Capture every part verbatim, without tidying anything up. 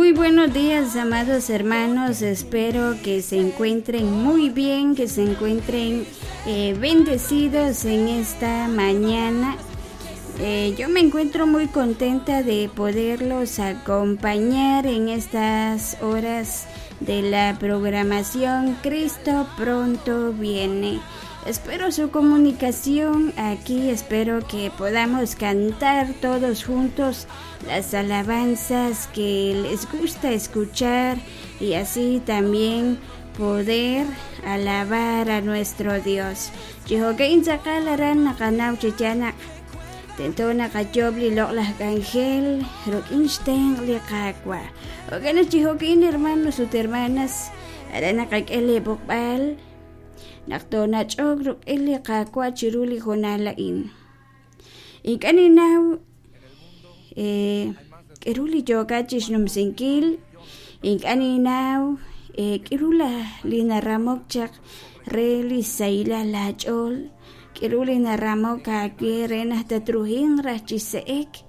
Muy buenos días, amados hermanos. Espero que se encuentren muy bien, que se encuentren eh, bendecidos en esta mañana. Eh, yo me encuentro muy contenta de poderlos acompañar en estas horas de la programación Cristo pronto viene. Espero su comunicación aquí, espero que podamos cantar todos juntos las alabanzas que les gusta escuchar y así también poder alabar a nuestro Dios. Tento naqayob li loq'laj k'anjel ruk'in xtenq' li Qaawa'. Jo'kan naq chi jo'kin hermanos ut hermanas aran naqak'e li b'oqb'al naq toonach'ok ruk'in li Qaawa' chiru li hoonal a'in. Ink'a' ninnaw k'aru li yookat chixnumsinkil, ink'a' ninnaw k'aru li naramok chaq re li sahilal laach'ool, k'aru li naramok aawe re naq tatruhinq raj chi se'ek.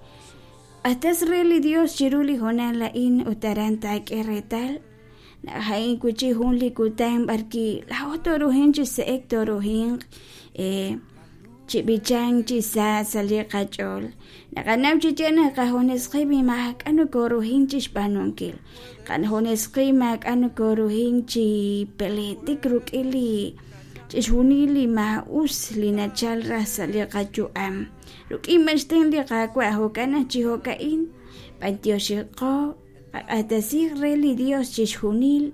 Q'axtas re li Dios chiru li hoonal a'in ut aran taak'e reetal naq a'in wi' jun li kutan b'arki laa'o tooruhinq chi se'ek tooruhinq chi b'ichank chi sa sa' li qach'ool. Naqanaw chi yaal naq qajunes qib' maak'a' nokoruhin chi xb'aanunkil, qajunes qib' maak'a' nokoruhin chi peletik ruk'in li chixjunil li maa'us li nachal raj sa' li qayu'am. Ruk'in b'an xtenq' li Qaawa' jo'kan naq chi jo'ka'in b'antioxiqo qaq'axtesij re li Dios chixjunil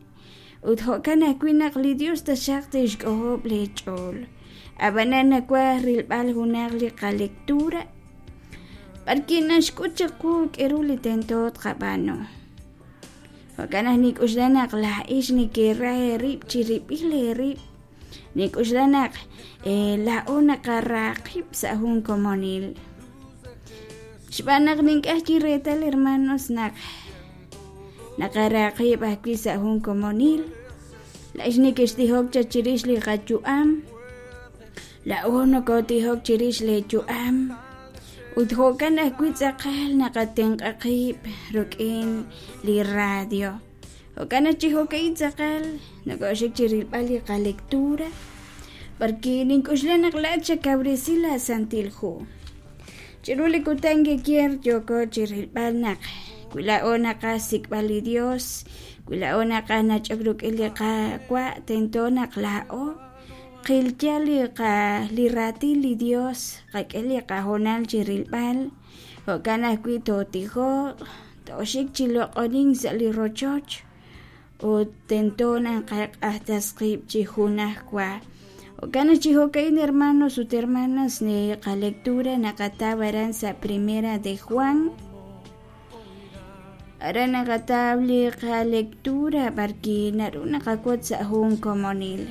ut jo'kan ajwi' naq li Dios taxaq tixk'ojob' li ch'ool. Ab'anan nawaj rilb'al junaq li qalectura b'arki naxk'ut chiqu k'aru li tento tqab'aanu. Jo'kan naq nik'uxla naq laa'ix nekeraj eerib' chirib'il eerib', nik'uxla naq laa'o naqara qib' sa' jun komonil. Xb'aan naq nink'aj chi reetal hermanos naq naqara qib' ajwi' sa' jun komonil. Laa'ix nekextijok chaq chirix li qayu'am, laa'o nokotijok chirix li yu'am ut jo'kan ajwi' tz'aqal naqatenq'a qib' ruk'in li radio. Jo'kan naq chi jo'ka'in tz'aqal nokoxik chirilb'al li qalectura b'arki nink'uxla naq laa'at xakawresi la Santil Hu. Chiru li kutan kikier yooko chirilb'al naq wi laa'o naqaj sik'b'al li Dios, wi laa'o naqaj nach'ok ruk'in li Qaawa' tento naq laa'o qilya li qa li raatin li Dios, qak'e li qahoonal chirilb'al, jo'kan ajwi' tootijoq, tooxik chi loq'onink sa' li rochoch ut tento naq qaq'axtas qib' chi junajwa. Jo'kan naq chi jo'ka'in hermanos ut hermanas ni qalectura naqataw aran sa' Primera de Juan. Aran naqataw li qalectura b'arki naru naqawot sa' jun komonil.